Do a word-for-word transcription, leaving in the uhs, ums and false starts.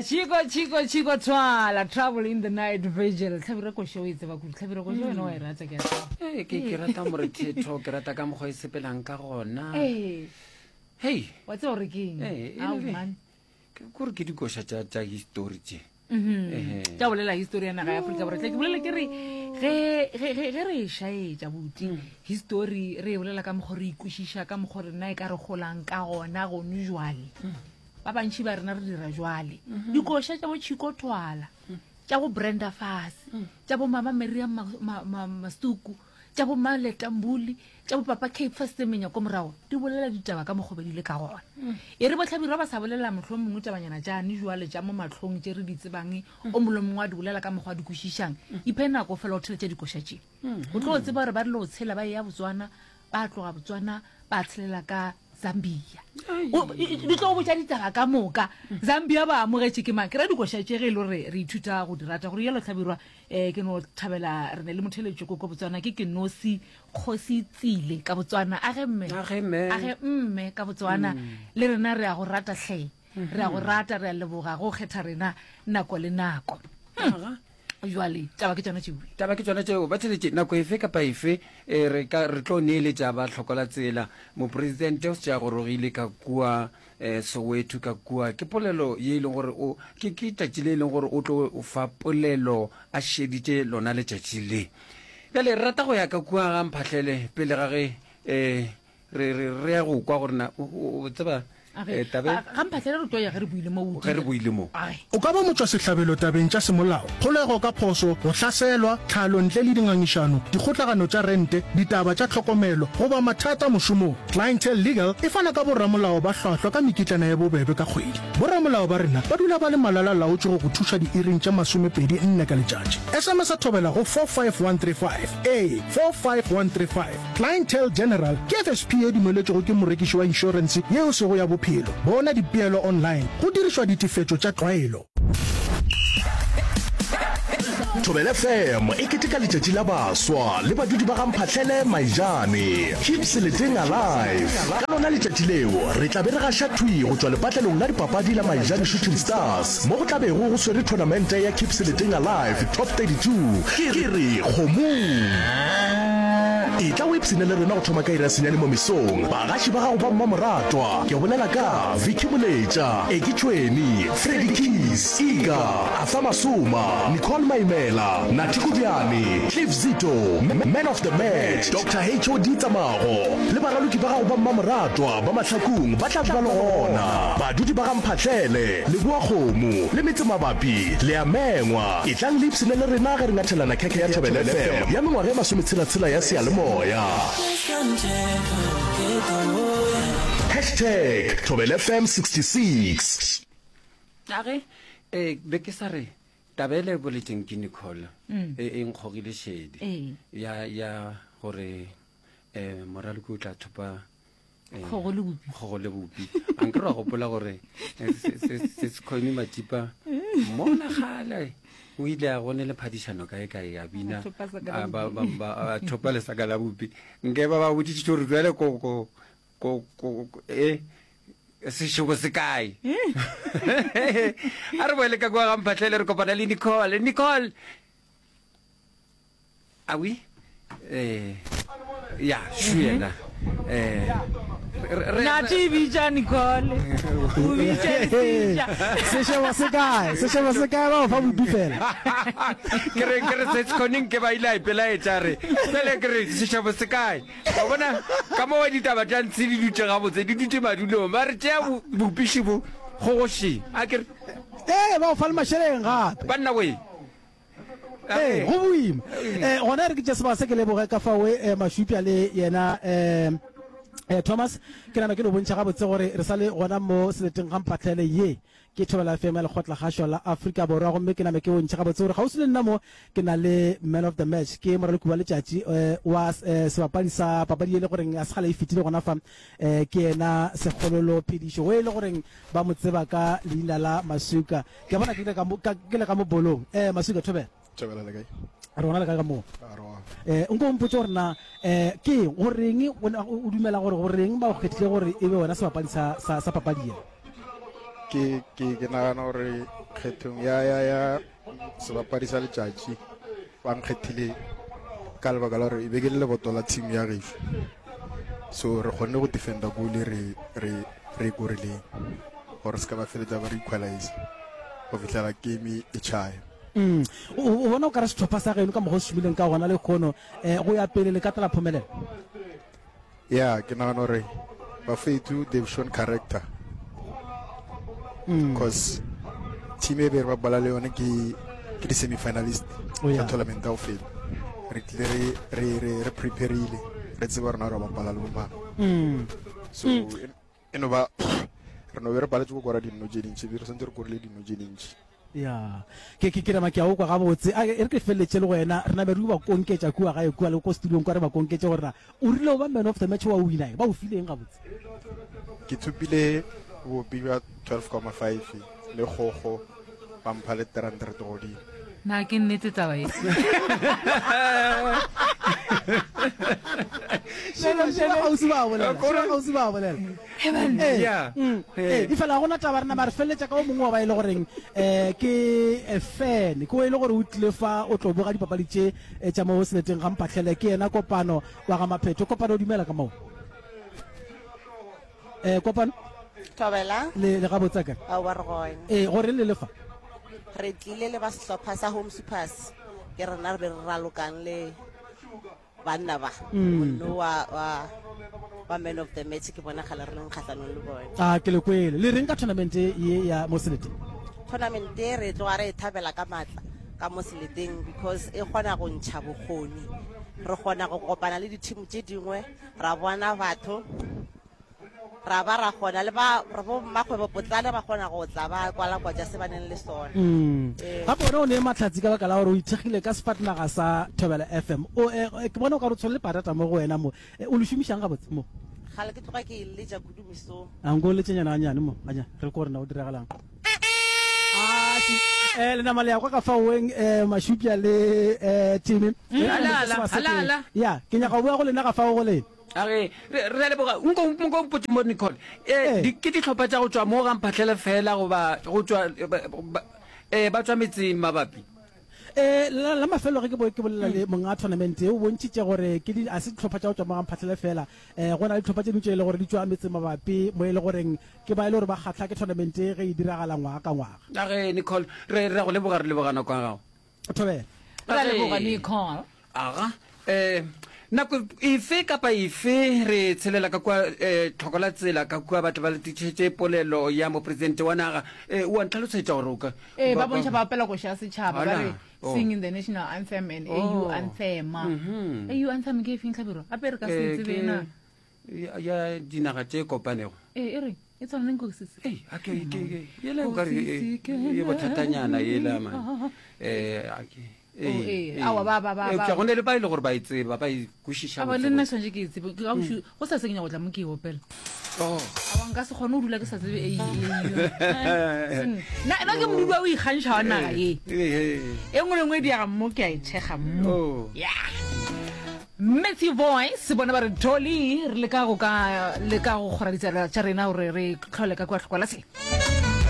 Chicco Chicco Chicco Twala Trouble in the Night Vigil Hlabirwa koša o e tseba kudu Hlabirwa koša wena wa e rata ke a tseba Ee, ke ke rata morethetho ke rata ka mokgwa e sepelang ka gona ee hei wa tseba gore ke eng Ee, e Ao, le- man. ke kore ke dikoša tša tša histori tše Mhm. Ehe. tša bolela histori ya naga ya aforika borwa tla ke bolela ke re ge ge- ge- ge re e šaetša buti histori re e bolela ka mokgwa re ikwešiša ka mokgwa rena e ka re golang ka gona gone jwale ba bantšhi ba rena re dira jwale dikoša tša bo Chicco Twala tša bo Brenda Fassie tša bo mama Miriam Ma- Ma- Ma- Masuku tša bo Maletambuli tša bo papa Cape Semenya ko morago di bolela ditaba ka mokgwa di le ka gona e re botlhabirwa ba sa bolela motlho mongwe tabanyana tšane jwale tša mo matlhong tše re di tsebang o mongwe le mongwe a di bolela ka mokgwa a di kwešišang iphe nako fela o theletša dikoša tše o tlo tseba gore ba rile go tshela ba ya botswana ba tloga botswana ba tshelela ka zambia O- i- i- di tlo go botša ditaba ka moka zambia ba amogetše ke mang ke ra dikoša tše ge e le gore re ithuta go di rata gore yalo tlhabirwa um ke no thabela re ne le motheletšo ko ko botswana ke ke nosi kgosi tsile ka botswana age mme Age mme. age mme ka botswana le rena re a go rata tlhe re a go rata re a leboga go kgetha rena nako le nako Aga. jwale taba ke tsona tšeo taba ke tsona tšeo ba theletše nako efe kapa efe eh, re ka re tlo neeletša ba hlokola tsela mopresidente o se a gorogile ka kua um soweto ka kua ke polelo ye e leng gore o ke ke tšatši le e leng gore o tlo o fa polelo a šeditše lona letšatši le bjale re rata go ya ka kua ga mphahlele pele ga ge um re re re ya go kwa gore na o- o o tseba eh, tabe ga mphatlhele re tlo ya ge re buile mo ge re buile mo Ai. O ka ba motšwasehlabelo tabeng tša semolao, kgolego ka phošo, go hlaselwa, tlhalo ntle le dingangišano, dikgotlagano tša rente, ditaba tša tlhokomelo goba mathata mošomong. Clientele Legal e fana ka boramolao ba hlwahlwa ka mekitlana ye bobebe ka kgwedi. Boramolao ba rena ba dula ba le malala-laotše go go thuša diiring tše masomepedi nne ka letšatši. SMS a thobela go four five one three five. Ee, four five one three five. Clientele General ke F S P ye dumeletšwego ke morekiši wa inšorense yeo sego ya bophelo. Bona dipeelo online go dirišwa ditefetšo tša tlwaelo. Thobela F M e keteka letšatši la baswa le badudi ba ga Mphahlele Maijane. Keep Seleteng alive. Ka lona letšatši leo re tla be re gaša thwi go tšwa lepatlelong la dipapadi la Maijane Shooting Stars mo go tla bego go swere tournamente ya Keep Seleteng Alive Top thirty-two. Ke re kgomong. E tla o ipshine le rena go thoma ka iri ya senyane mo mesong. Bagaši ba gago ba mmamoratwa ke bolela ka Vicky Moletša, Eki Tšhweni, Freddy Keys, Iga, Arthur Masoma, Nicole Maimela, Nathi Kudiane, Cliff Zito, Man of the Match, Doctor H O D Tsamago le baraloki ba gago ba mmamoratwa ba Mahlakung ba tla be ba le gona. Badudi ba ga Mphahlele, Leboa Kgomo le metse mabapi le a mengwa. E tlang le ipshine le rena ge re ngathelana khekhe ya Thobela F M ya mengwaga e masometshela-tshela ya seyalemoya. Hashtag Thobela F M sixty-six. Age, eh, be ke sa re taba e le boletseng ke Nicole e e nkgogile šedi Ee. ya ya gore eh moraloki o tla thopa eh, Kgogo le bopi. kgogo le bopi. A nke ra gopola gore eh, se se se se Mathipa mona gale o ile a gone le phadišano kae kae a bina, A thopa saka la a ba- bopi. ba- ba- a thopa lesaka la bopi. Nke ba ba boditše gore jwale ko ko ko ko e sešobo se kae. A re boele ka kua ga Mphahlele re kopana le Nicole. Nicole, a oui? Eh, ya, šu yena. Eh, re- re- Nathi bitša Nicole. O bitša Lesija. Sešebo se kae? Sešebo se kae ba o fa bopi fela? Ke re, ke re se sekgoneng ke ba ile a ipelaetša re. Pele ke re sešebo se kae? Wa bona ka mo ditaba tša ntshe di dutše gabotse, di dutše madulong. Ba re tšea bo-, bopiši bo gogoši. A ke re Ee, ba o fa le mašeleng gape. Banna we. Ee, go boima. Eh, gona re ke tše sebaka se ke leboge ka fao, eh, Mašupja le yena, eh, eh, Thomas. Ke nagana ke no bontšha gabotse gore re sa le gona mo seleteng ga Mphahlele ye ke Thobela F M ya Lekgotlakgašo la Afrika Borwa, gomme ke name ke bontšhe gabotse gore kgauswi le nna mo ke na le man of the match, ke moraloki wa letšatši, eh, wa, eh, sebapadi sa papadi e le goreng a se kgale e fetile gona fa, eh, ke yena Sekgololo Phedišo, o e le goreng ba mo tseba ka leina la Masuka. Ke a bona ke le ka mo, ka, ke le ka mo bolong. Eh, Masuka, Thobela. Thobela le kae? Re gona le kae ka moo? A, re gona. Eh, nko o mpotse gore na, eh, ke eng, goreng o, o dumela gore goreng ba o kgethile gore e be wena sebapadi sa, sa, sa papadi ye? Ke ke ke nagana gore kgethong ya ya ya sebapadi sa letšatši ba nkgethile ka lebaka la gore e be ke le leboto la team ya gešo. So re kgonne go defenda goal re re re e korileng gore se ka ba feletša ba re equalize go fihlela game e tšhaya. Mm. O, o bona o ka re sehlopha sa geno ka mokgwa o se šomileng ka gona lehono eh, go ya pele le ka tla la phomelela? Yeah, ke nagana gore bafethu they've shown character because team e be re bapala le yone ke ke di-semi-finalist Oh, yeah. tša tournament ya go feta. Re tlile re re re re prepareile re tseba rena re bapala le bomang. So e e no ba re no be re paletse go kora dino tše dintši, re santse re korile dino tše dintši. Ya, ke, ke, ke nama ke a o kwa gabotse. A, e re ke feleletše le go wena, re name re ba konketša kua gae kua le ko studiong kwa re ba konketše gore na o rile o ba man of the match wa wina eng, ba o file eng gabotse? Ke thopile bopi bja twelve comma five le kgogo ba mpha le three hundred godimo. Na ke nnete taba ye? Šela, šela kgauswi ba bolela, šela kgauswi ba bolela. Ee, Yeah. mm, Ee. ee, efela ga gona taba re nama re feleletša ka o mongwe wa ba e le goreng um ke eh, fan ke o e le gore o tlile fa o tlo boga dipapadi tše eh, tša mo seleteng ga Mphahlele ke yena Kopano wa ga Maphetho. Kopano o dumela ka moo? Eh, Kopano Thobela. le le gabotse akere? Aowa re gona. Ee, gore le le fa? Re tlile le ba sehlopha sa Home Supers ke rena re be re ralokang le banna ba monno wa wa wa man of the match ke bona gale re leng kgahlanong le bone. A ke le kwele. Le reng ka tournament ye ya mo seleteng? Tournament e re tloga re e thabela ka matla ka mo seleteng because e kgona go ntšha bokgoni. Re kgona go kopana le di-team tše dingwe ra bona batho ra ba ra kgona le ba re bo mmakgwebo potlana ba kgona go tla ba kwalakwatša se ba neng le sona. Mm. Ee. Gape wena o ne mahlatsi ka baka la gore o ithekgile ka sefatanaga sa Thobela F M. O, eh, ke bona o ka re o tshwere le patata mo go wena mo. Eh, o le šomišang gabotse mo? Gale ke tloga ke e letša kudu mesong. A nko o letšenyana ganyane mo, ganyane, re ko gore na o diragalang. Ah, si. Eh, le nama le ya kwa ka faoeng, eh, Mashupja le, eh, Timmy. Mm, Eh, ala, le ala, se ba se ala, ke- ala. Ya, ke nyaka go boya go lena ga fao go lena. A re, re, re a leboga. Nko, nko mpotše mo, Nicole. Eh, Ee. di, ke dihlopha tša go tšwa mo ga Mphahlele fela goba go tšwa, eh, ba, ba, eh, ba tšwa metseng mabapi? Eh, la, la mafelo ge ke bo, ke bolela le monga tournament e, o bontšhitše gore ke di, a se dihlopha tša go tšwa mo ga Mphahlele fela. Eh, go na le dihlopha tše dingwe tše e le gore di tšwa metseng mabapi mo e le goreng ke ba e le gore ba kgahlwa ke tournament e ge e diragala ngwaga ka ngwaga. A re, Nicole, re, re a go leboga, re leboga nako ya gago. Thobela. Re a leboga, A re. Nicole. Aga, eh, nako efe kapa efe re tshelela ka kua, eh, tlhoko la tsela ka kua batho ba letišetše polelo ya mopresidente wa naga. Eh, o a ntlhalosetša gore o ka Ee, ba ba bontšha ba opela koša ya setšhaba, ba Ala, re oh. singing the national anthem and A U Oh. anthem. Mhm. A U anthem ke efeng Hlabirwa? Gape re ka se Eh, e tsebe ke na. ya, ya dinaga tše kopanego. Ee, e re e tshwana le nko se se. Ei, a ke, ke, ke, yela o ka re, e, e bothatanyana yela, man. Eh, a ke, Oh, ee, ee, ee. aowa, ba, ba, ba, Eupša ba. go ne le ba e le gore ba e tseba, ba e kwešiša Aowa, le botse nna botse. tshwanetse ke e tsebe. Ke ka bošu, go sa se ke nyaka go tla mo ke e opela. Oh. Aowa, nka se kgone go dula ke sa tsebe A U, A U. Nna, nna ke modudi wa o ikgantšha wa naga ye. Ee, ee, ee. E nngwe le nngwe e diega mo, ke a e thekga mo. Oh. Yeah. Matthew Voice bona ba re Dolly, re leka go ka leka go kgora ditsela tša rena gore re tlhole ka kua tlhokwa la tsela.